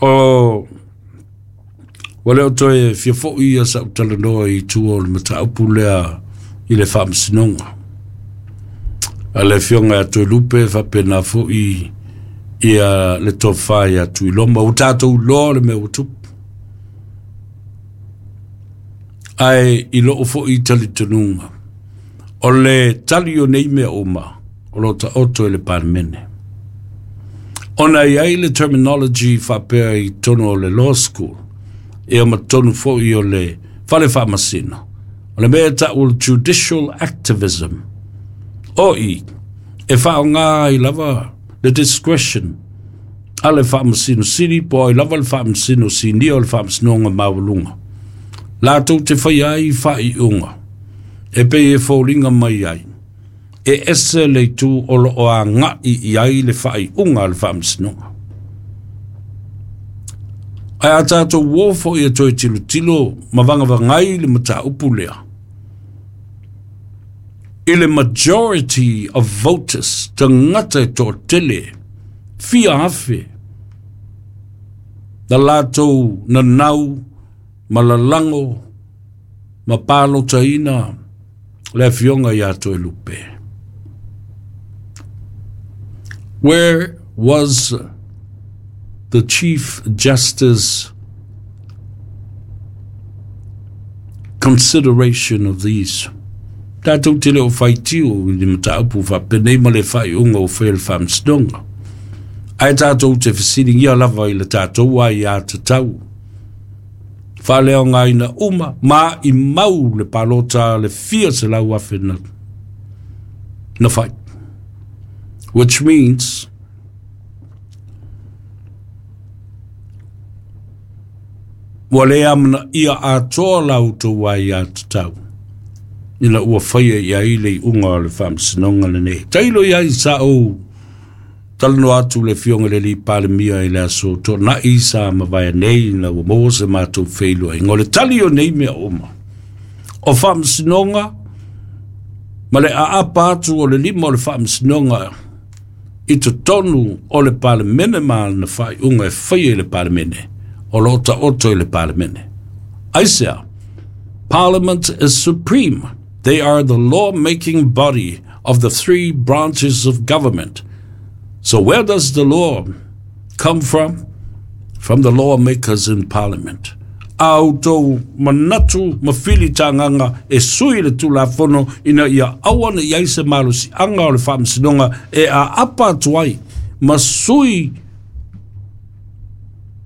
O ua le o toe fia fo'i ia sa'u talanoa i tua o le mataupu lea i le faamasinoga a le afioga ia Toelupe faapena fo'i ia le tofa ia Tuiloma. Ua tatou iloa le mea ua tupu, ae i lou fo'i talitonuga o le tali o nei mea uma o lo taoto i le Palemene, ona e i ai le terminology faapea i totonu o le law school ia ma totonu foi o le fale faamasino, o le mea e ta'u o le judicial activism, o i e faaaogā ai lava le discretion a le Faamasino Sili po o ai lava le Faamasino Sinia o le Faamasinoga Maualuga latou te faia ai faaiuga e pei e foliga mai ai e ese le itu o lo o aga'i i ai le faaiuga a le Faamasinoga. Ae a tatou uō fo'i e toe tilotilo ma vagavagai le mataupu lea i le majority of voters, tagata e toatele fia afe na latou nanau ma lalago ma palotaina le afioga ia Toelupe. Where was the Chief Justice consideration of these? Tatou te le o faitio i le mataupu faapenei ma le faaiuga o faia le Faamasinoga, ae tatou te fesiligia lava i le tatou aiā tatau faaleaogaina uma ma i mau le palota le fia 100,000 na fai, which means ua le amanaia atoa la outou aiā tatau ina ua faia i ai le iuga o le Faamasinoga lenei. Tailo i ai sa ou talanoa atu le afioga i le alii Palemia i le aso Toonai sa mavae nei ina ua maua se matou feiloaiga. O le tali o nei mea uma o Faamasinoga ma le aapa atu o le lima o le Faamasinoga i totonu o le Palemene ma lana faaiuga e faia i le Palemene, o lo o taoto i le Palemene. Aisea? Parliament is supreme. They are the law-making body of the three branches of government. So where does the law come from? From the lawmakers in Parliament. A outou manatu ma filitagaga e sui le Tulafono ina ia aua ne i ai se malosiaga o le Faamasinoga e aapa atu ai ma sui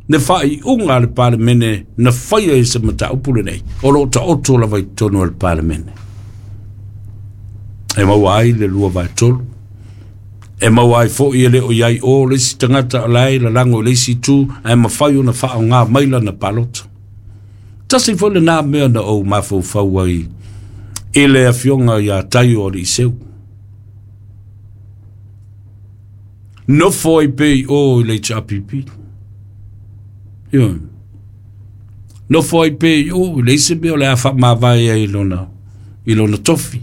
le faaiuga a le Palemene na faia i se mataupu lenei, o lo o taoto lava i totonu o le Palemene. E maua ai le 2/3, e maua ai fo'i e le o i ai o le isi tagata o la e lalago i le isi itu ae mafai ona faaaogā mai lana palota. Tasi foi lenā mea na ou mafaufau ai i le afioga ia Taio Aliiseu. Nofo ai pea i o i le HRPP. Ioe. Nofo ai pea i o i le isi mea o le a faamavae ai i lona tofi.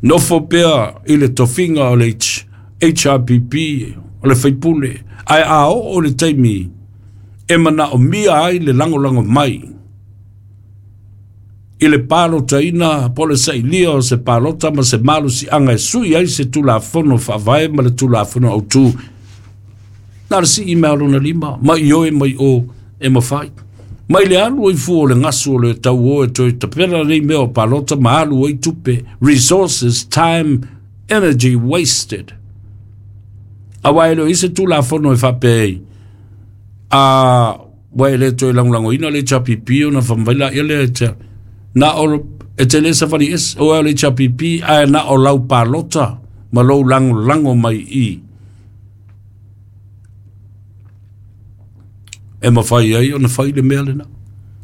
Nofo pea i le tofiga o le HRPP o le faipule, ae a oo le taimi e manaomia ai le lagolago mai i le palotaina po o le sailia o se palota ma se malosiaga e sui ai se Tulafono Faavae ma le Tulafono Autu, na o le sii mai o lona lima, mai i oe mai o e mafai. Mai le alu ai fua o le gasu o le tau o e toe tapena nei mea o palota ma alu ai tupe, resources, time, energy wasted. Aua e le o i se Tulafono e faapea ai, a ua e le toe lagolagoina le HRPP ona faamavae laia lea e te na o e te le savali ese o le HRPP, ae na o lau palota ma lou lagolago mai i e mafai ai ona fai le mea lena.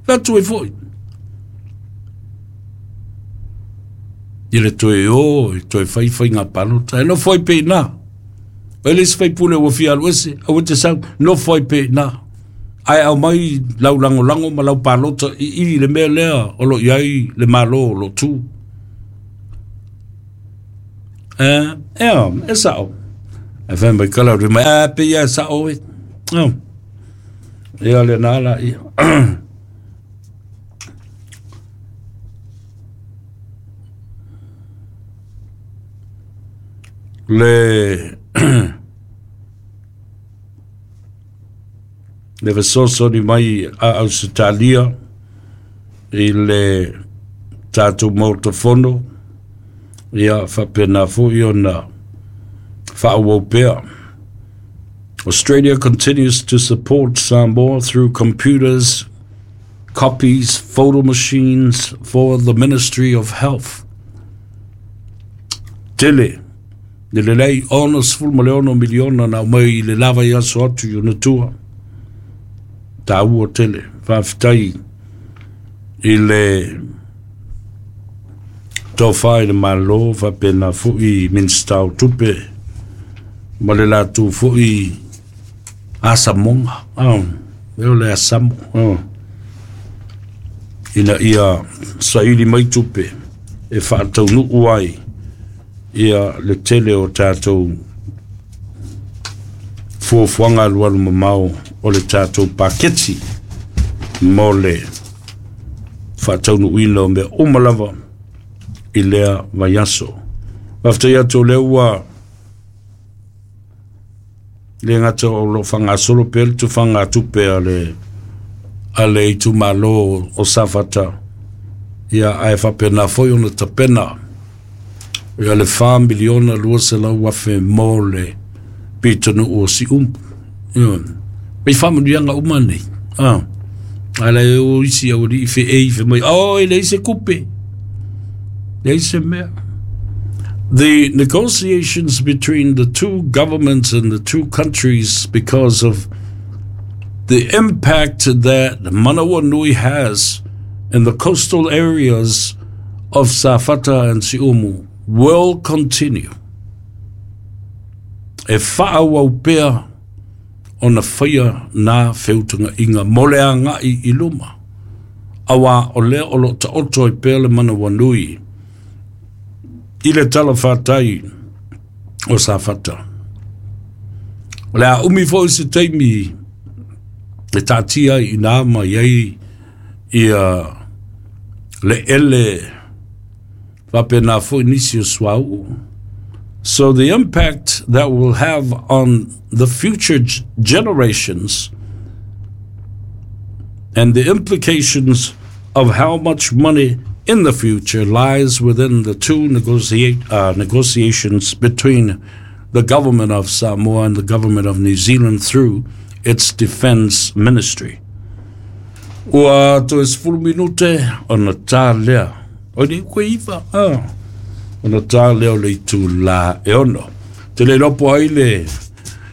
Fai atu ai foi i le toe o e toe fai faiga palota e nofo ai pe ina. O le isi faipule ua fia alu ese, aua te sau, nofo ai pe ina. Ae au mai lau lagolago ma lau palota i le mea lea o lo i ai le malo o lo tu. E, e sa'o. Ae fai mai kala ri mai a pe ia sa oe. Oh. Ia le nā la ia. Le le fesoasoani mai a Ausetalia i le tatou Maota Fono, ia faapena foi ona faaauau pea. Australia continues to support Samoa through computers, copies, photo machines for the Ministry of Health. Tele, le lelei 66 miliona na aumai i le lava i aso atu i ona tua. Tāua tele, faafetai i le tofa i le Malo faapena foi Minisita o Tupe ma le latou foi asamoga. Oh, o le asamo. Oh. Ina ia saili mai tupe e faataunuu ai ia le tele o tatou fuafuaga alualu mamao o le tatou paketi mo le faataunuuina o mea uma lava i lea vaiaso. Faafetai atu o lea ua le gata o lo o faagasolo pea le tufaga tupe a le a le itumalo o Safata, ia ae faapena foi ona tapena ia le 4 miliona 200,000 mo le pitonuu o Siumu. Ia, mai faamanuiaga uma nei. Ah. Ala e o isi au alii fe e fe mai, oh, e leai se kupe. Leai se mea. The negotiations between the two governments and the two countries because of the impact that Manawanui has in the coastal areas of Safata and Siumu will continue. E faaauau pea ona faia nā feutagaiga mo le agai i luma, auā o lea o lo o taoto ai pea le manawanui i le talafatai o Safata. O le a umi foi se taimi e taatia ai i ina ma i ai ia le ele faapena foi nisi o suauu. So the impact that will have on the future generations and the implications of how much money in the future lies within the two negotiate, negotiations between the government of Samoa and the government of New Zealand through its defense ministry. Ua toe 10 minute ona tā lea. O nei koe iwa, ah. Ona tā lea o le itulā e ono. Te le lopo ai le,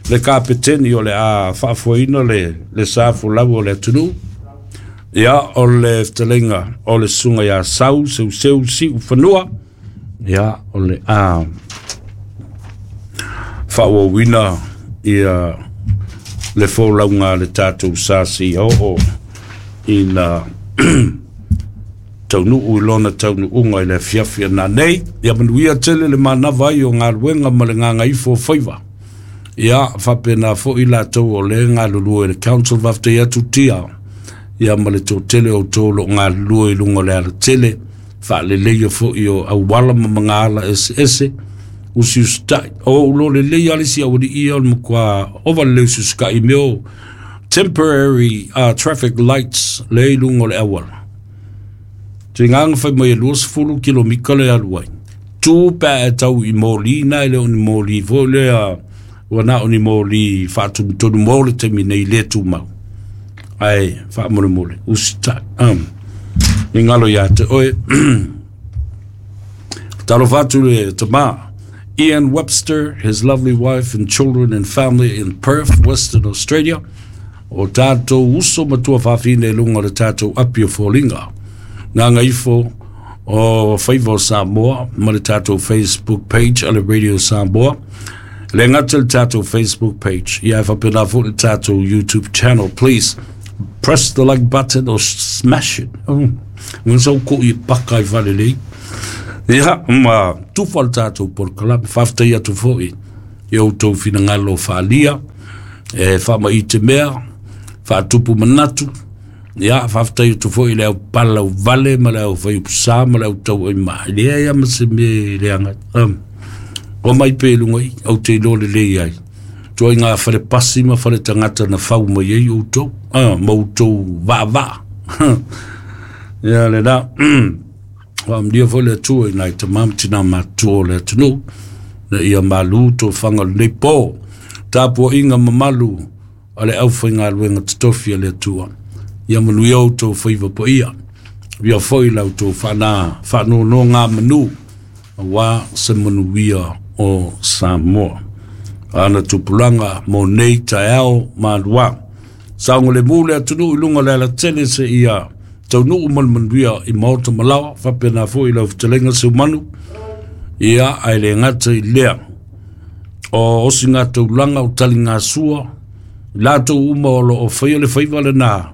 le kapeteni o le a faafoeina le, le sa folau o le atunuu. Ia, o le fetalaiga o le susuga ia Sau Seuseu Siufanua. Ia, o le a faaauauina ia le folauga a le tatou sa seia oo ina taunuu i lona taunuuga i le afiafi ana nei. Ia manuia tele le manava ai o galuega ma le gagaifo o faiva. Ia faapena foi latou o le galulue i le council faafetai atu tia. Ia ma le toatele o outou o lo o galulue i luga o le alatele, faaleleia foi o auala ma magaala eseese, usiusitai. O ou lo lelei lava le isi aualii ia o le matua ova le usiusitai i mea o temporary traffic lights lea i luga o le auala. Tiga na fai mai e 20 kilomita le alu ai. Tu pe a e tau i moli na e le o ni moli foi lea ua na o ni moli faatonutonu mo le taimi nei le tumau. Ae faamolemole, usitai. I ngalo ia te oe. Talofa atu le tama. Ian Webster, his lovely wife and children and family in Perth, Western Australia. O tātou uso ma tuafafine i luga o le tātou api o foliga. Gagaifo o Faiva o Samoa ma le tātou Facebook page a le Radio Samoa. E le gata le tātou Facebook page, ia e faapena foi le tātou YouTube channel. Please press the like button or smash it. Oh, ngā sau ko i paka i whare lei. Ia, ma tufa le tātou polokalame, faafetai atu foi. I outou finagalo faaalia e faamaite mea faatupu manatu. Ia faafetai atu foi i le au pala vale ma le au faiupusa ma le au tauaima e leai lava ma se mea e leaga ai. O mai pea i luga i ou te iloa lelei ai ituaiga fale pasi ma fale tagata na fau mai ai outou ma outou vaavaa. Ia lena. Faamanuia foi le Atua i nai tama ma tina matutua o le atunuu na ia malu tofaga o lenei po. Tapuaiga mamalu a le aufaigaluega totofi a le Atua. Ia manuia outou faiva paia. Ia foi la outou faanonogamanu aua se manuia o Samoa. Ana tupulaga mo nei taeao malua. Saogalemu le atunuu i luga o le alatele se ia taunuu ma le manuia i maota ma laoa, faapena foi i lau fetalaiga Seumanu. Ia, ae le gata i lea, o osigataulangaa o taligasua, i latou uma o lo o faia le faiva lena,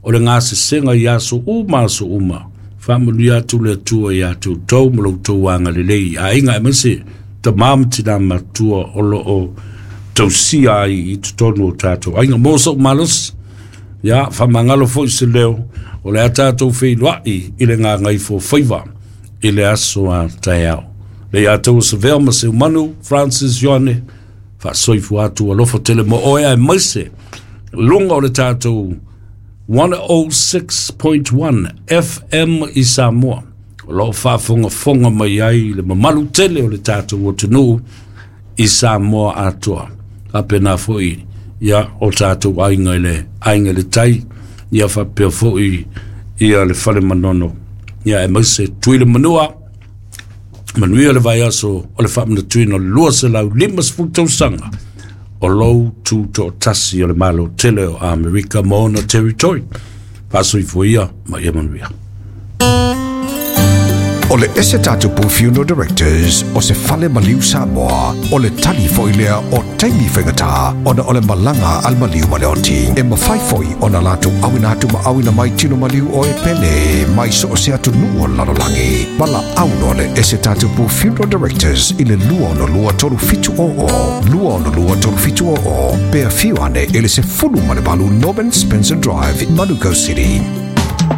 o le gasesega i aso uma aso uma. Faamanuia atu le Atua ia te outou ma lo outou agalelei i aiga, aemaise tama ma tina matua o lo o tausia ai i totonu o tatou aiga. Mo sou malosi, ia, faamagalo foi se leo, o le a tatou feiloai i le gagaifo faiva i le aso a taeao. Le ia tau savea ma Seumanu, Francis Ioane, faasoifua atu alofa tele mo oe aemaise luga o le tatou 106.1 FM i Samoa. O lo o faafogafoga mai ai le mamalu tele o le tatou atunuu i Samoa atoa. Faapena foi ia o tatou aiga i le aiga i le tai, ia faapea foi ia le fale manono. Ia aemaise Tuila Manua, manuia le vaiaso o le faamanatuina o le 250 tausaga o lou tutoatasi o le Malo tele o Amerika ma ona territory. Faasoifua ia ma ia manuia. O le ese tatupu Funeral Directors o se fale maliu Samoa, o le tali foi lea o taimi faigata ona o le malaga a le maliu ma le oti. E mafai foi ona latou auina atu ma auina mai tino maliu o e pele mai so o se atunuu o le lalolagi. Valaau le ese tatupu Funeral Directors i le 262 3700 262 3700 pe afio ane i le 18 Norman Spencer Drive, Manukau City.